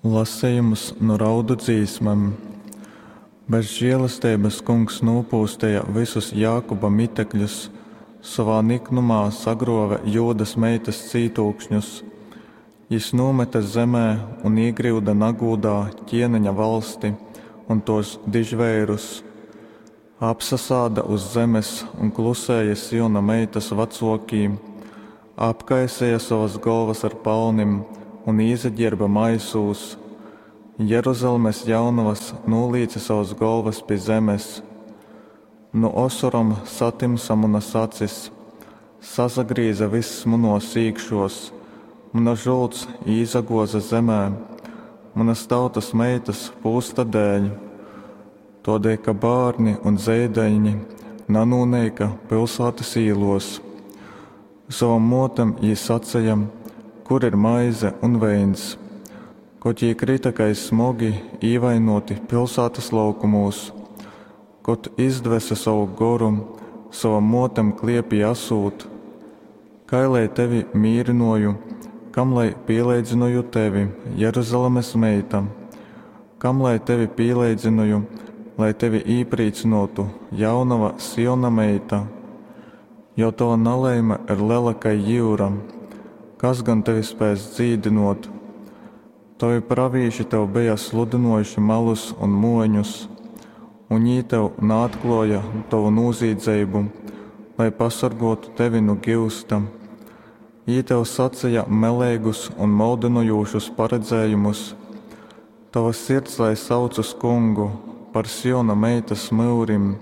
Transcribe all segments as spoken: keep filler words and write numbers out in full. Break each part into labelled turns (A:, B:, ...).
A: Lasejums nu Raudu dzīsmem. Bez želesteibas Kungs nūpūsteja vysus Jākuba mitekļus, sovā niknumā sagrōve Jūdas meitas cītūkšņus. Jys nūmete zemē un īgryude nagūdā kēneņa vaļsti un tōs dižveirus. Apsasāda uz zemes un klusēja Siona meitas vacōkī, apkaiseja sovas golvas ar palnim un īsaģierba maisūs. Jeruzalemes jaunovas nūlīce sovas golvas pi zemes. Nu osorom satymsa munas acis, sasagrīze vyss munōs īkšōs, muna žults īsagōze zemē, munas tautas meitas pūsta dēļ. Tōdēļ, ka bārni un zeidaiņi nanūneika pilsātas īlōs. Sovom mōtem jī saceja: Kur ir maize un veins? Kod jī kryta kai smogi īvainōti pilsātas laukumūs, kod izdvese sovu goru, sovom mōtem kliepī asūt: Kai lai tevi mīrynoju, kam lai pīleidzynoju tevi, Jeruzalemes meita? Kam lai tevi pīleidzynoju, lai tevi īprīcynōtu, jaunova Siona meita? Jo tova nalaime ir lela kai jyura, kas gan tevi spēs dzīdynōt? Tovi pravīši tev beja sludynōjuši malus un mōņus, un jī tev naatklōja tovu nūzīdzeibu, lai pasorgōtu tevi nu gyusta. Jī tev saceja meleigus un moldynojūšus paredzējumus. Tova sirds lai sauc uz Kungu par Siona meitas myurim,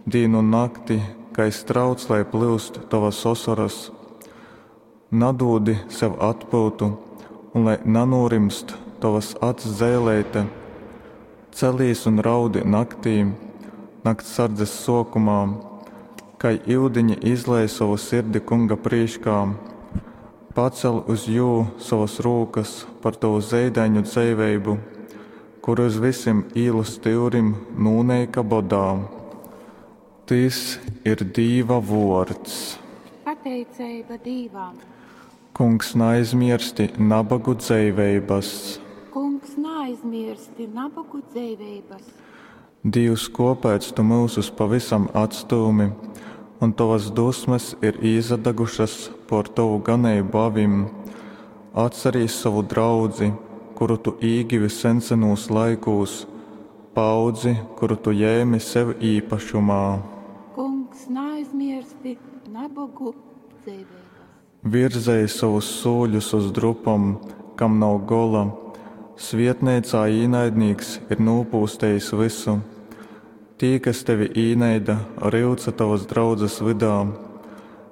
A: dīnu un nakti, kai strauts lai plyust tovas osoras. Nadūdi sev atpyutu, un lai nanūrimst tovas acs zeileite. Celīs un raudi naktī, nakts sardzes sōkumā, kai iudiņi izlej sovu sirdi Kunga prīškā. Pacel uz jū sovas rūkas par tovu zeidaiņu dzeiveibu, kuri uz vysim īlu styurim nūneika bodā. Tys ir Dīva vōrds.
B: Pateiceiba Dīvam.
A: Kungs, naaizmiersti nabagu dzeiveibas.
B: Kungs, naaizmiersti nabogu dzeiveibas.
A: Dīvs, kōpēc tu myusus pavysam atstūmi, un tovas dusmes ir īsadagušas pōr tovu ganeibu avim? Atcerīs sovu draudzi, kuru tu īgivi sensenūs laikūs, paaudzi, kuru tu jēmi sev īpašumā.
B: Kungs, naaizmiersti nabogu dzeiveibas.
A: Virzej sovus sūļus uz drupom, kam nav gola. Svietneicā īnaidnīks ir nūpūstejis vysu. Tī, kas tevi īneida, ryuca tovas draudzes vydā.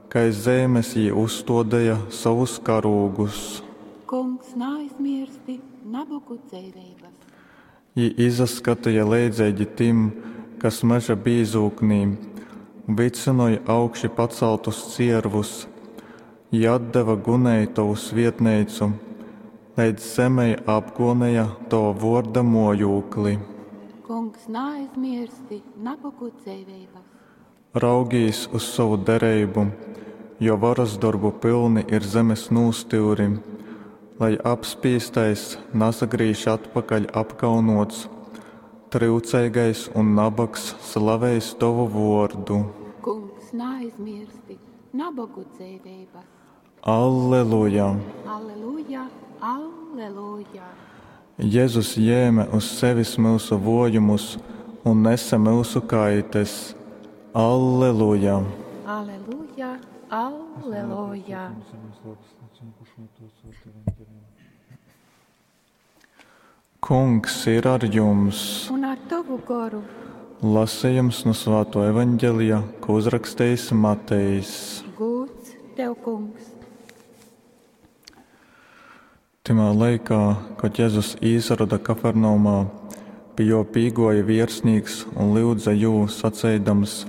A: Kai zeimes jī uzstōdeja sovus karūgus.
B: Kungs, naaizmiersti nabogu dzeiveibas.
A: Jī izaskateja leidzeigi tim, kas meža bīzūknī vycynoj augši pacaltus ciervus. Jī atdeva gunei tovu svietneicu, leidz zemei apgōneja tova vōrda mōjūkli.
B: Kungs, naaizmiersti nabogu dzeiveibas.
A: Raugīs uz sovu dereibu, jo varas dorbu pylni ir zemes nūstyuri, lai apspīstais nasagrīž atpakaļ apkaunōts, tryuceigais un nabogs slaveis tovu vōrdu.
B: Kungs, naaizmiersti nabogu dzeiveibas.
A: Alleluja!
B: Alleluja, alleluja!
A: Jezus jēme uz sevis myusu vōjumus un nese myusu kaites. Alleluja!
B: Alleluja, alleluja!
A: Kungs ir ar jums!
B: Un ar tovu goru.
A: Lasījums no Svāto evaņģelija, ko uzrakstījis Matejs.
B: Gūds tev, kungs!
A: Tymā laikā, kad Jezus īsaroda Kafarnaumā, pie jo pīgoja viersnīks un lyudza jū, saceidams: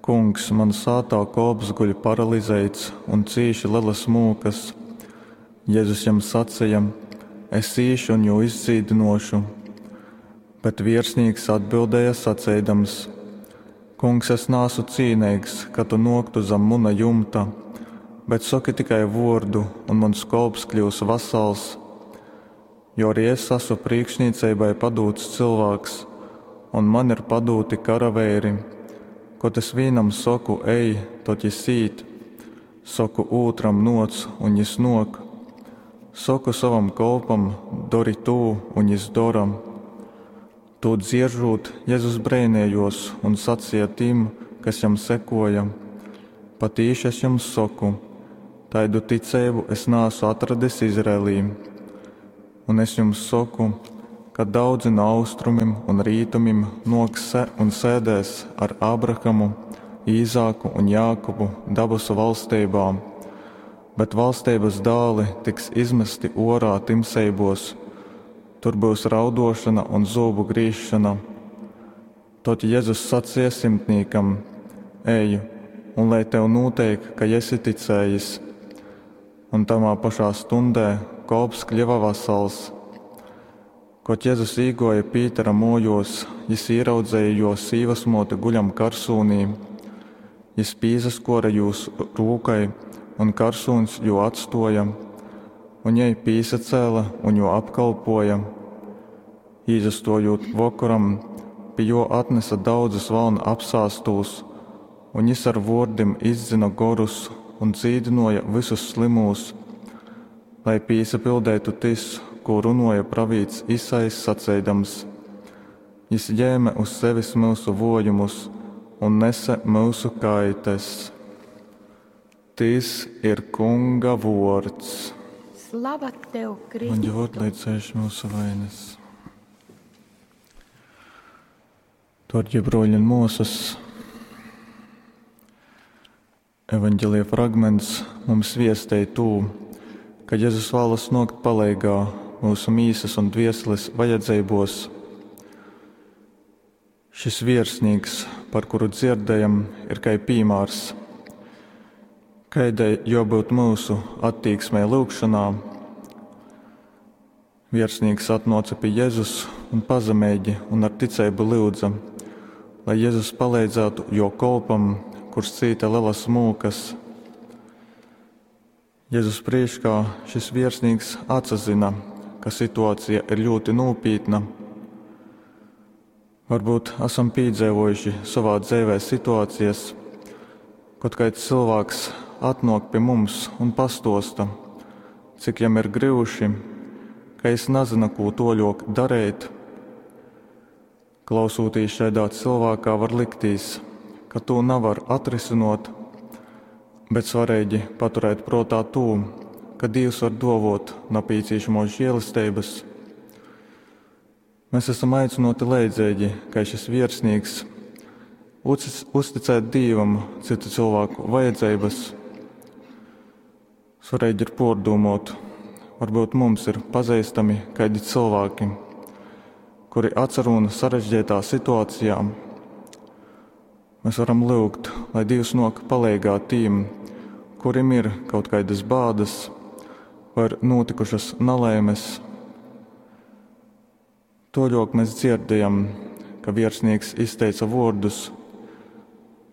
A: Kungs, man sātā kolps guļ paralizeits un cīši lelas mūkas. Jezus jam saceja: Es īšu un jū izdzīdinošu. Bet viersnīks atbildēja saceidams: Kungs, es nāsu cīneigs, ka tu noktu zem muna jumta, bet soki tikai vōrdu, un mans kolps kļūs vasals. Jo arī es asu prīkšnīceibai padūts cylvāks, un man ir padūti karaveiri. Kod es vīnam soku, ej, tod jys īt, soku ūtram, nōc, un jys nōk. Soku sovam kolpam, dori tū, un jys dora. Tū dzieržūt, Jezus breinējōs un saceja tim, kas jam sekōja: Patīši es jums soku, taidu ticeibu es naasu atradis Izraelī. Un es jums soku, ka daudzi no austrumim un rītumim nōks un sēdēs ar Ābrahamu, Īzāku un Jākubu dabasu valsteibā, bet valsteibas dāli tiks izmasti ōrā tymseibos, tur byus raudōšona un zūbu grīzšona. Tod Jezus saceja simtnīkam: Ej, un lai tev nūteik, kai esi ticējis. Un tamā pašā stundē kolps kļuva vasals. Kod Jezus īgōja Pītera mōjōs, jys īraudzeja jō sīvasmōti guļam karsūnī. Jys pīsaskōre jūs rūkai, un karsūņs jū atstōja, un jei pīsacēle un jū apkolpōja. Īsastōjūt vokoram, pi jō atnesa daudzus valna apsāstūs, un jys ar vōrdim izdzyna gorus un dzīdynōja vysus slymūs, lai pīsapildeitu tys, kū runōja pravīts Isaijs saceidams: Jys jēme uz sevis myusu vōjumus un nese myusu kaites. Tys ir Kunga vōrds.
B: Slava tev,
A: Un
B: Kristu!
A: jo atlaicējuši myusu vainas. Dārgie broļi un mūsas, evaņģelija fragments mums viestej tū, ka Jezus vēlas nōkt paleigā mūsu mīsas un dvieseles vajadzeibos. Šis viersnīks, par kuru dzirdējam, ir kai pīmārs. Kaidai jābūt mūsu attīksmei lūgšanā? Viersnīks atnāca pie Jēzus un pazemeigi un ar ticību lūdza, lai Jēzus palīdzētu jo kolpam, kurš cīta lielas mūkas. Jēzus priekšā šis viersnīks atsazina, ka situācija ir ļoti nopietna. Varbūt esam piedzīvojuši savā dzīvē situācijas, kad kāds cilvēks atnāk pie mums un pastosta, cik jam ir grūši, ka es nezinu, ko toļok darīt. Klausūtīs šādā cilvēkā var liktīs, ka to nevar atrisinot, bet svarīgi paturēt prātā to, ka Dievs var dovot napīcīšamos žēlestības. Mēs esam aicināti leidzīgi, kā šis viersnīgs, uzticēt Dievam citu cilvēku vajadzības. Svarīgi ir pārdomot, varbūt mums ir pazīstami kādi cilvēki, kuri atsarūna sarežģītā situācijā. Mēs varam lūgt, lai Dievs nāk palīgā tiem, kuriem ir kaut kādas bādas vai ir notikušas nelaimes. Toļok mēs dzirdējam, ka viersnieks izteica vārdus: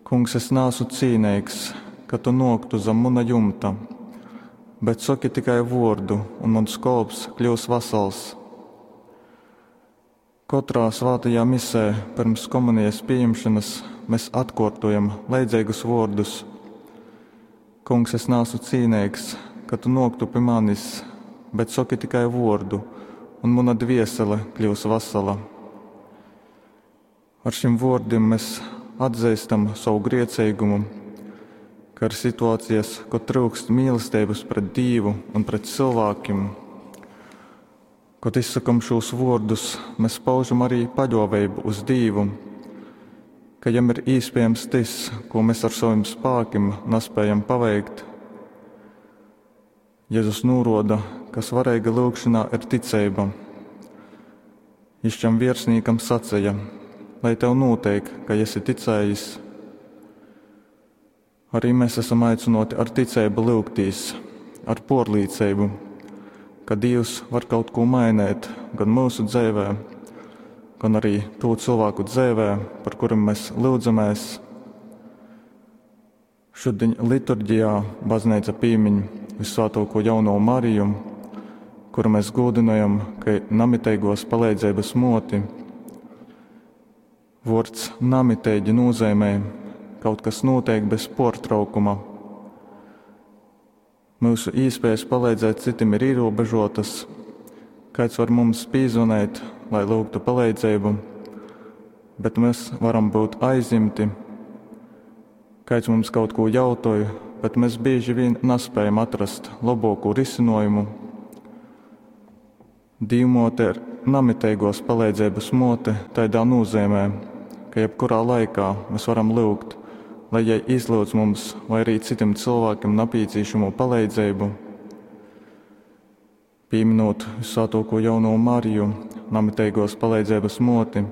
A: Kungs, es neesmu cīnīgs, ka tu noktu zem muna jumta, bet saki tikai vārdu, un mans kolps kļūs vasals. Katrā svētajā misē pirms komunijas pieņemšanas mēs atkārtojam leidzīgus vārdus: Kungs, es neesmu cīnīgs, ka tu noktu pie manis, bet saki tikai vārdu, un mana dviesele kļūs vasala. Ar šiem vārdiem mēs atzīstam savu griecīgumu, ka ir situācijas, kad trūkst mīlestības pret Dievu un pret cilvēkiem. Kad izsakam šos vārdus, mēs paužam arī paļāvību uz Dievu, ka jam ir iespējams tas, ko mēs ar saviem spēkiem nespējam paveikt. Jēzus norāda, ka svarīga lūgšanā ir ticība. Viņš šam viersnīkam sacīja: lai tev notiek, ka esi ticējis. Arī mēs esam aicināti ar ticību lūgtīs, ar porlīdzību, ka Dievs var kaut ko mainīt gan mūsu dzīvē, gan arī to cilvēku dzīvē, par kuriem mēs lūdzamies. Šodien liturģijā baznīca piemin visvētāko jauno Mariju, kuru mēs gūdynojam kai namiteigōs paleidzeibas mōti. Vuords namiteigi nūzeimej, kaut kas nūteik bez puortraukuma. Myusu īspējas paleidzēt citim ir ierobežotas. Kāds var mums pīzvaneit, lai lūgtu paleidzeibu, bet mēs varam būt aizņemti. Kāds mums kaut ko jautoj, bet mēs bieži vien nespējam atrast labāko risinājumu. Dīvmote ir namiteigos paleidzības mote tādā nozīmē, ka jebkurā laikā mēs varam lūgt, lai jai izlūdz mums vai arī citiem cilvēkiem nepieciešamo palīdzību. Pieminot Visvētāko jauno Mariju, namiteigos palīdzības moti,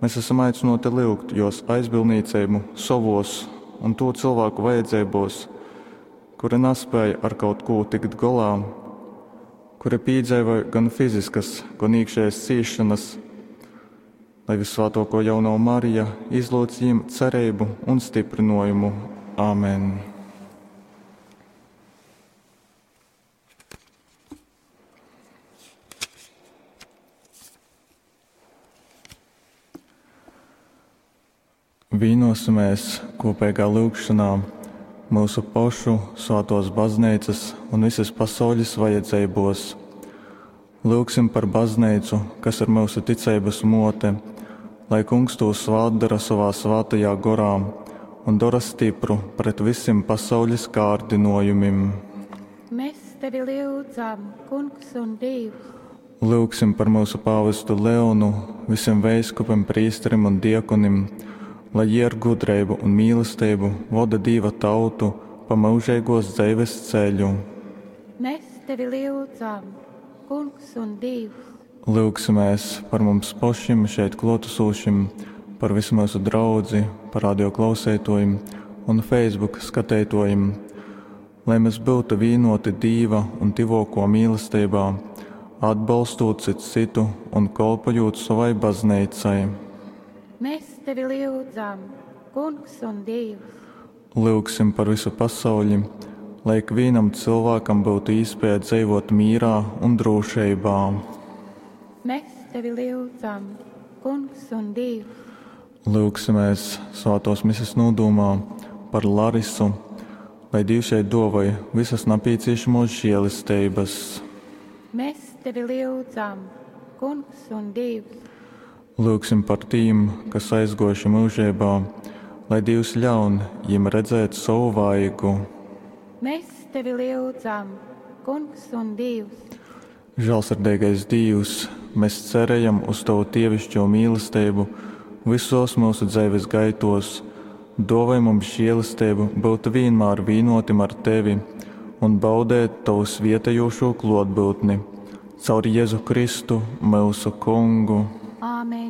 A: mēs esam aicināti lūgt jos aizbildniecību savos un to cilvēku vajadzībos, kuri nespēja ar kaut ko tikt golā, kuri piedzīvoja gan fiziskas, gan iekšējas ciešanas, lai Visvētāko jauno Marija izlūdz viņiem cerību un stiprinājumu. Āmen! Vīnosimies kopīgā lūgšanā mūsu pašu svētos baznīcas un visas pasaules vajadzībos. Lūgsim par baznīcu, kas ir mūsu ticības mote, lai kungs to svātdara savā svētajā gorā un dara stipru pret visiem pasaules kārdinojumiem.
B: Mēs tevi lūdzam, Kungs un Dievs.
A: Lūgsim par mūsu pāvestu Leonu, visiem veiskupiem, prīsterim un diekonim, lai jie ar gudrību un mīlestību vada Dieva tautu pa mūžīgos dzīves ceļu.
B: Mēs tevi lūdzam, Kungs un Dievs.
A: Lūgsimies par mums pašiem šeit klātesošiem, par visu mūsu draudzi, par radio klausētojiem un Facebook skatītojiem, lai mēs būtu vienoti Dieva un tivoko mīlestībā, atbalstot cits citu un kolpojot savai baznīcai.
B: Mēs tevi lūdzam, Kungs un Dievs.
A: Lūgsim par visu pasauli, lai ikvienam cilvēkam būtu iespēja dzīvot mierā un drošībā.
B: Mēs tevi lūdzam, Kungs un Dievs.
A: Lūgsimies svētos mises nodomā par Larisu, lai Dievs jai dāvāja visas nepieciešamos žēlestības.
B: Mēs tevi lūdzam, Kungs un Dievs.
A: Lūgsim par tiem, kas aizgojuši mūžībā, lai Dievs ļaun viņiem redzēt savu vaigu.
B: Mēs tevi lūdzam, Kungs un Dievs.
A: Žēlsirdīgais Dievs, mēs cerējam uz Tavu dievišķo mīlestību visos mūsu dzīves gaitos. Dāvāj mums žēlastību būt vienmēr vienotim ar Tevi un baudēt Tavu svietējošo klātbūtni. Caur Jēzu Kristu, mūsu Kungu.
B: Āmen.